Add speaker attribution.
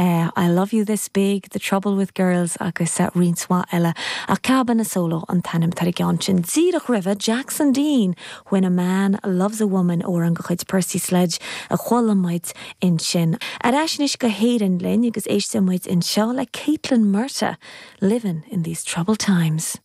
Speaker 1: I Love You This Big, The Trouble With Girls agus roinnt mhaith eile. Ach Cabana Solo an t-ainm atá ar an gceann sin. Díreach roimhe, Jackson Dean, When a Man Loves a Woman, amhrán de chuid Percy Sledge a chuala muid ansin. Ar ais anois go hÉirinn linn agus éistfidh muid anseo le Caitlín Murtagh, Livin' in These Troubled Times.